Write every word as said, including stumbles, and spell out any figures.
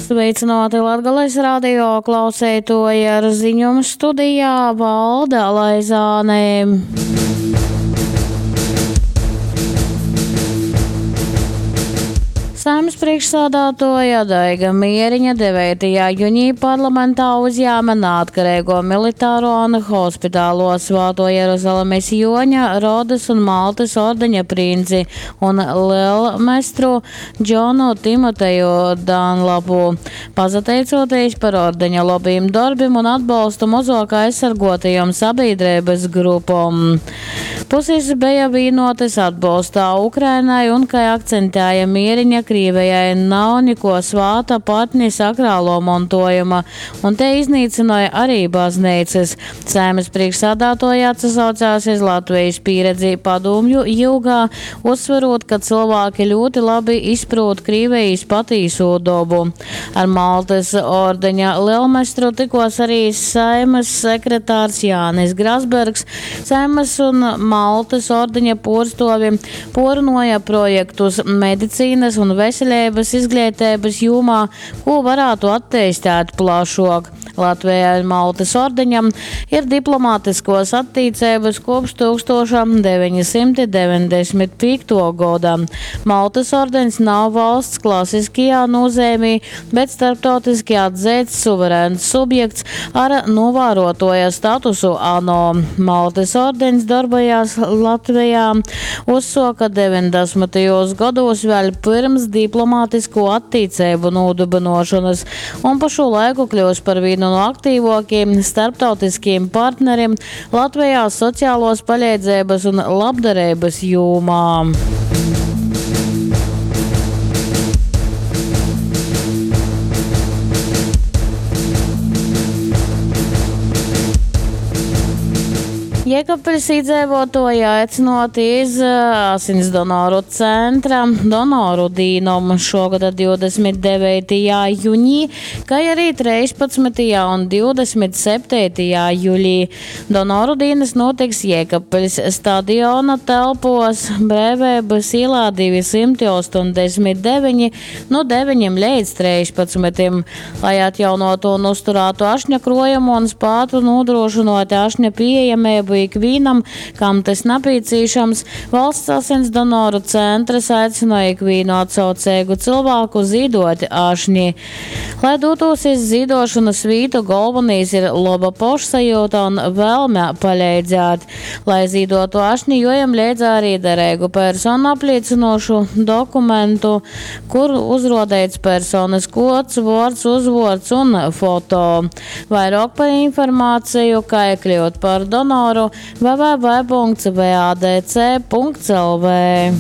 Sveicināti Latgales radio klauseitoji ar ziņom studijā Valda Laizāne. Saeimas priekšsādātoja Daiga Mieriņa deveitajā junī parlamentā uzjāma neatkarīgo militāro un hospitālo Svāto Jeruzalemes Joņa, Rodas un Maltas ordeņa princi un lielmestru Džonu Timoteju Danlapu, pasateicoties par ordeņa labiem darbiem un atbalstu mazāk aizsargotajām sabiedrības grupom. Puses bija vienotas atbalstā Ukrainai un, kā akcentēja Mieriņa, Krievijai nav neko svāta patni sakrālo mantojuma, un te iznīcināja arī baznīcas. Saeimas priekšsādātoja atsaucās iz Latvijas pieredzi padomju jugā, uzsverot, ka cilvēki ļoti labi izprot Krievijas patīso dobu. Ar Maltas ordeņa lielmestru tikos arī Saeimas sekretārs Jānis Grasbergs. Saeimas un Maltas ordeņa porstovi porunāja projektus medicīnas un veselības izglītības jomā, ko varētu attīstīt plašāk. Latvijai un Maltas ordeņam ir diplomātiskos attiecības kopš tūkstoš deviņsimt deviņdesmit piekto gada. Maltas ordeņs nav valsts klasiskajā nozīmē, bet starptautiski atzīts suverēns subjekts ar novērotoja statusu ANO. Maltas ordeņs darbojās Latvijā uzsoka deviņdesmitajos gados vēl pirms diplomātisko attiecību nodibināšanas un pa šo laiku kļūst par vienu no aktīvākiem starptautiskiem partneriem Latvijā sociālos palīdzības un labdarības jomā. Jēkabpiļs iedzīvotāji aicināti iz asins donoru centra donoru dīnumu šogad divdesmit devītajā jūnijā, kā arī trīspadsmitajā un divdesmit septītajā jūlijā. Donoru dīnas notiks Jēkabpiļs stadiona telpos Brīvības ielā divi simti astoņdesmit deviņi no deviņiem līdz trīspadsmitiem. Lai atjaunotu un uzturētu ašņa krojumu un spētu nodrošinot ašņa pieejamību ikvienam, kam tas nepieciešams, valsts asins donoru centrs aicina ikvienu atsaucīgu cilvēku zīdot ašņi. Lai dotos iz zīdošanas vītu, galvenais ir laba pašsajūta un vēlme palīdzēt. Lai zīdotu ašņi, jojam līdz arī derīgu personu apliecinošu dokumentu, kur uzrodēts personas kods, vārds, uzvārds un foto. Vairāk par informāciju, kā kļūt par donoru, w w w punkts v a d c punkts l v.